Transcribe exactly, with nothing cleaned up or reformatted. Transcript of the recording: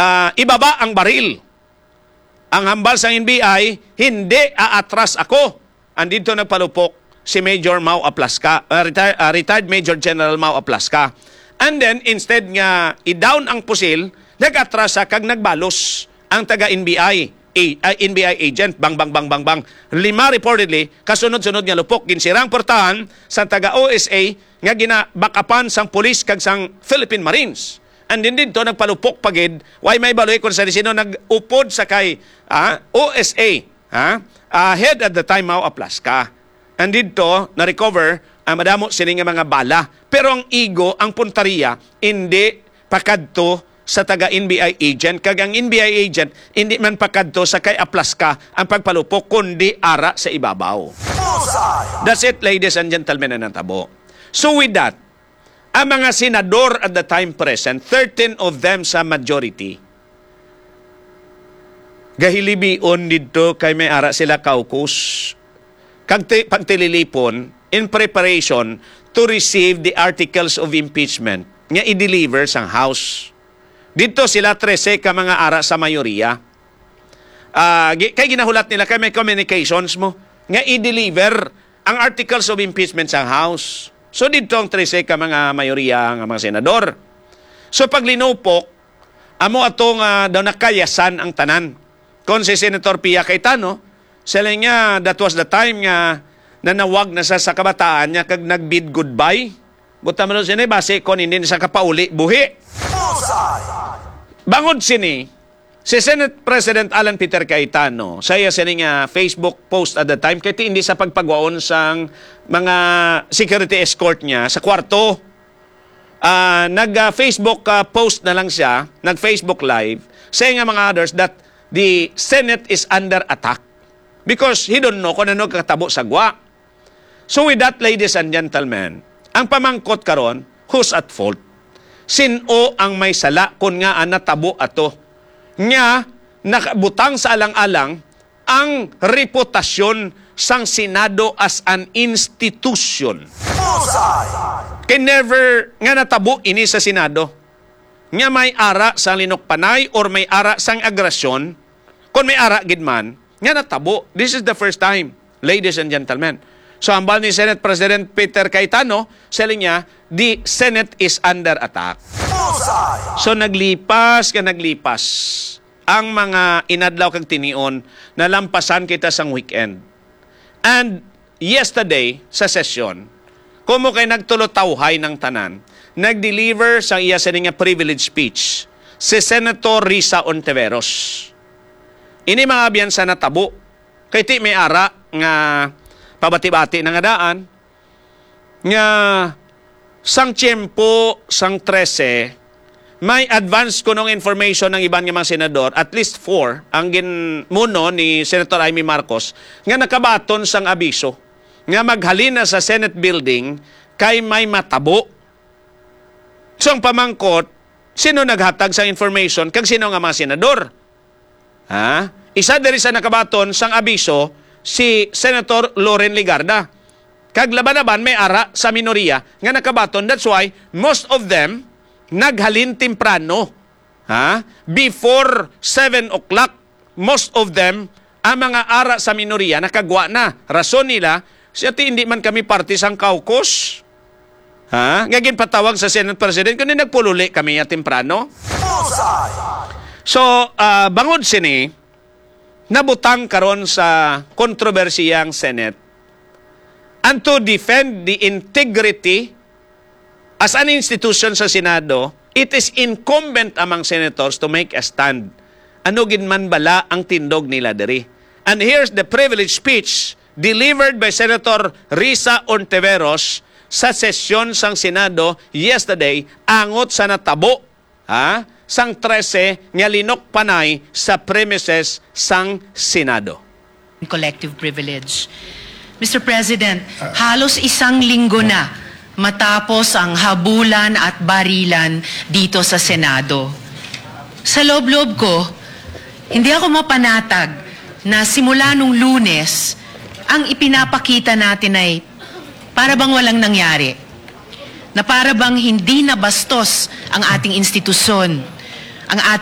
ah, ibaba ang baril. Ang hambal sang N B I, "Hindi aatras ako." Andito nagpalupok si Major Mau Aplasca, ah, retire-, ah, retired Major General Mau Aplasca. And then, instead nga i-down ang pusil, nag-atras siya kag nagbalos ang taga N B I, a-, ah, N B I agent, bang, bang, bang, bang, bang. Lima reportedly, kasunod-sunod nga lupok, ginsirang portahan sa taga O S A nga ginabakapan sang pulis kag sang Philippine Marines. And then didto nagpalupok pa gid, way may baloy kung sa sino nag-upod sa kay, ah, O S A, ha? Ah, head at the time, Mau Aplasca. And didto na-recover ang madamo sini nga mga bala. Pero ang igo, ang puntaria, hindi pakadto sa taga N B I agent, kag ang N B I agent hindi man pakadto sa kay Aplasca ang pagpalupok, kundi ara sa ibabaw. That's it, ladies and gentlemen, ang natabo. So with that, ang mga senador at the time present, thirteen of them sa majority, gahilibion didto kay may ara sila caucus kag ti-, pagtililipon in preparation to receive the articles of impeachment nga i-deliver sang House. Didto sila trese ka mga ara sa mayoriya. Ah, gi-, kay ginahulat nila kay may communications mo nga i-deliver ang articles of impeachment sa House. So didto ang trese ka mga mayoriya nga mga senador. So paglinupok, amo ato nga daw nakayasan ang tanan. Kon si Senator Pia Cayetano, siling niya that was the time nga nanawag na sa, sa kabataan niya kag nag-bid goodbye. Buta man sini, basi kon hindi na sa kapauli, buhi. Bangod sini, si Senate President Alan Peter Cayetano, sa iya sini nga Facebook post at the time, kay ti hindi sa pagpagwaon sang mga security escort niya sa kwarto. Ah, nag, ah, Facebook, ah, post na lang siya, nag-Facebook Live, saying nga mga others that the Senate is under attack because he don't know kung ano katabo sa gwa. So with that, ladies and gentlemen, ang pamangkot karon, who's at fault? Sin-o ang may sala kun ngaa natabo ato nga nakabutang sa alang-alang ang reputasyon sang Senado as an institution? Kay never nga natabo ini sa Senado nga may ara sang linukpanay or may ara sang agresyon, kon may ara gid man, nga natabo. This is the first time, ladies and gentlemen. So, hambal ni Senate President Peter Cayetano, siling niya, "The Senate is under attack." So, naglipas ka naglipas ang mga inadlaw kag tinion, nalampasan kita sang weekend. And yesterday, sa sesyon, kumo kay nagtulotawhay ng tanan, nag-deliver sa iya sini nga privilege speech si Senator Risa Ontiveros. Ini mga abyan sa natabo, kay ti may ara nga pabati-bati na nga daan, nga sang tiyempo sang trese, may advance kunong information ang iban nga mga senador, at least four, ang ginmuno ni Senator Imee Marcos, nga nakabaton sang abiso nga maghalin na sa Senate building kay may matabo. So, ang pamangkot, sino naghatag sang information kag sino nga mga senador? Ha? Isa diri sa nakabaton sang abiso si Senator Loren Legarda. Kag laban-laban may ara sa minoriya nga nakabaton. That's why most of them naghalin temprano. Ha? Before seven o'clock, most of them, ang mga ara sa minoriya, nakagwa na. Rason nila, siya ti hindi man kami parte sang caucus. Ha? Nga ginpatawag sa Senate President, kundi nagpululi kami ya temprano. So, ah, bangod sini, nabutang karon sa kontrobersiya ang Senate. And to defend the integrity as an institution sa Senado, it is incumbent among senators to make a stand. Ano gid man bala ang tindog nila diri? And here's the privilege speech delivered by Senator Risa Ontiveros sa sesyon sang Senado yesterday angot sa natabo, ha, sang trese nga linukpanay sa premises sang Senado. Collective privilege. Mister President, halos isang linggo na matapos ang habulan at barilan dito sa Senado. Sa loob-loob ko, hindi ako mapanatag na simula nung Lunes, ang ipinapakita natin ay para bang walang nangyari, na para bang hindi nabastos ang ating institusyon, ang ating